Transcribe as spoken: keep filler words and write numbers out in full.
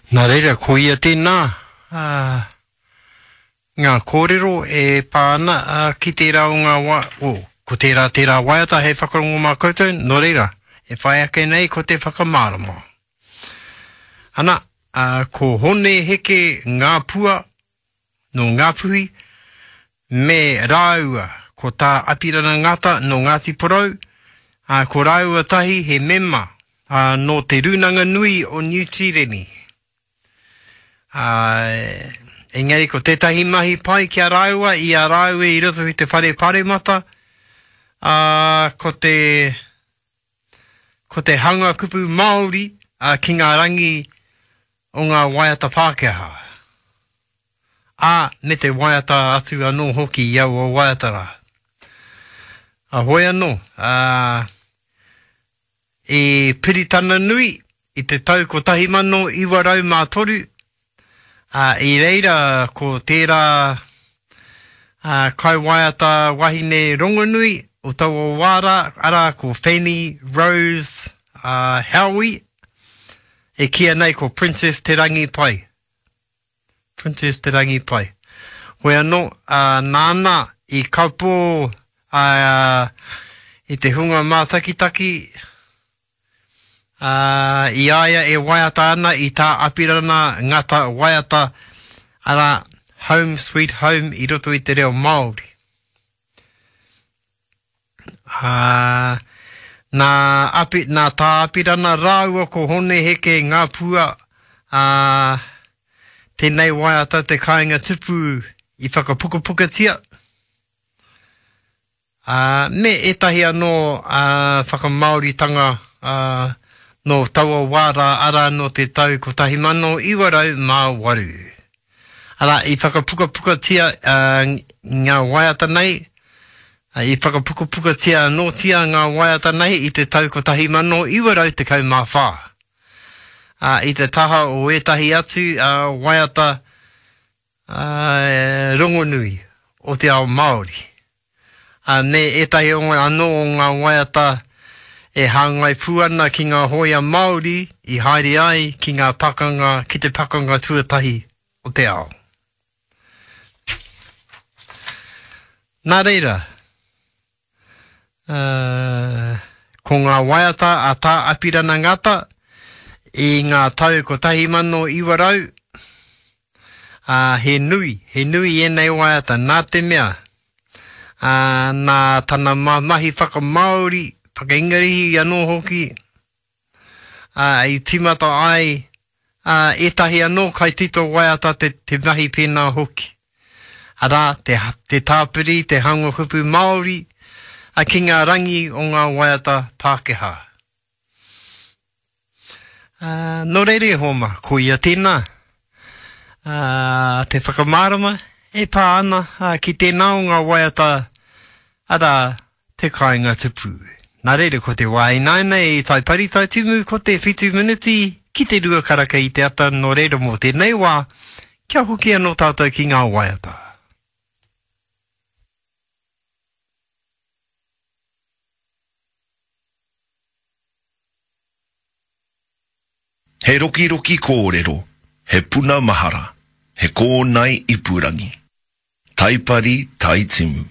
Nā reira, ko ia tēnā, ā, ngā kōrero e pā ana ā, ki tērā o ngā wā, o, ko tērā tērā waiata hei whakarongo mā koutou, nō reira, e whai ake nei ko te whakamārama. Ana, ā, ko Hone Heke Ngāpua nō Ngāpuhi, me rāua ko Tā Apirana Ngata nō Ngāti Porou, ā, ko rāua tahi he mema ā, nō Te Rūnanga Nui o Niu Tīreni. Ā, engari ko tētahi mahi pai ki a rāua i a rāua i roto i te whare paremata, ā, ko te, ko te hanga kupu Māori ā, ki ngā rangi o ngā waiata Pākehā. Ā, me te waiata atu anō hoki i aua waiata rā. A hoi anō, ā, i Piritana Nui i te tau kotahi mano iwa rau mā toru, ā, i reira ko tērā ā, kaiwaiata wahine rongonui o taua wā rā, arā ko Fanny Rose ā, Howie, e kīia nei ko Princess Te Rangi Pai. Princess Te Rangi Pai. Hoi anō, ā, nāna i kapo ā, i te hunga mātakitaki, ā, i a ia e waiata ana i tā Apirana Ngata waiata, arā, Home Sweet Home i roto i te reo Māori. Ā, nā Api, nā Tā Apirana rāua ko Hone Heke Ngāpua, ā, tēnei waiata te kāinga tupu i whakapukapukatia, ā, me ētahi anō ā, whakamāoritanga ā, nō taua wā rā, arā nō te tau kotahi mano iwa rau mā waru. Arā, i whakapukapukatia ā, ngā waiata nei, ā, i whakapukapukatia anōtia ngā waiata nei i te tau kotahi mano iwa rau tekau mā whā. Ā, i te taha o ētahi atu ā, waiata ā, rongonui o te ao Māori. Ā, me ētahi o ngā, anō o ngā waiata e hāngai pū ana ki ngā hōia Māori i haere ai ki ngā pakanga, ki te pakanga tuatahi o te ao. Nā reira, ā, ko ngā waiata a Tā Apirana Ngata i ngā tau kotahi mano iwa rau, ā, he nui, he nui ēnei waiata, nā te mea, ā, nā tana mahi whakamāori, whakaingarihi anō hoki, ā, i tīmata ai ā, ētahi anō kaitito waiata te, te mahi pēnā hoki. Arā, te, te tāpiri, te hanga kupu Māori ā, ki ngā rangi o ngā waiata Pākehā. Ā, nō reira e hoa mā, koia tēnā, ā, te whakamārama e pā ana ā, ki tēnā o ngā waiata, arā, te kāinga tupu. Nā reira, ko te wā ināianei i Taipari Taitimu, ko te whitu miniti ki te rua karaka i te ata, nō reira mō tēnei wā, kia hoki anō tātou ki ngā waiata. He rokiroki kōrero, he puna mahara, he kōnae ipurangi. Taipari Taitimu.